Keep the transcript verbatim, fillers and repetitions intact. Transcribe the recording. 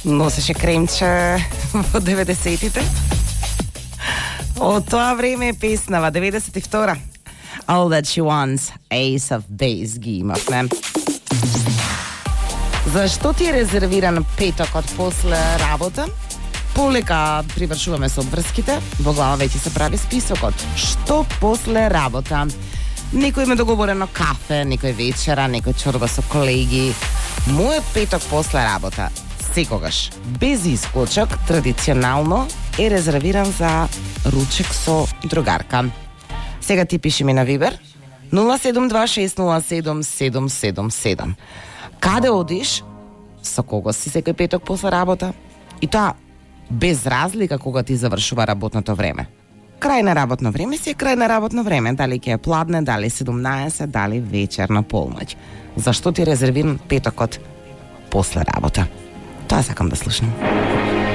носеше кремче во деветдесетите. Од тоа време е песнава, деветдесет и втора. All That She Wants, Ace of Base ги имавме. Зашто ти е резервиран петокот после работа? Полека привршуваме со обврските, во глава веќе се прави списокот. Што после работа? Некој има договорено кафе, некој вечера, некој чорба со колеги. Мојот петок после работа, секогаш, без исклучок, традиционално е резервиран за ручек со другарка. Сега ти пиши ми на Вибер нула седум два шест нула седум седум седум седум. Каде одиш? Со кого си секој петок после работа? И тоа без разлика кога ти завршува работното време. Крај на работно време си е крај на работно време, дали ќе е пладне, дали седумнаесет, дали вечер на полноќ. Зашто ти резервиран петокот после работа? Тоа сакам да слушнам.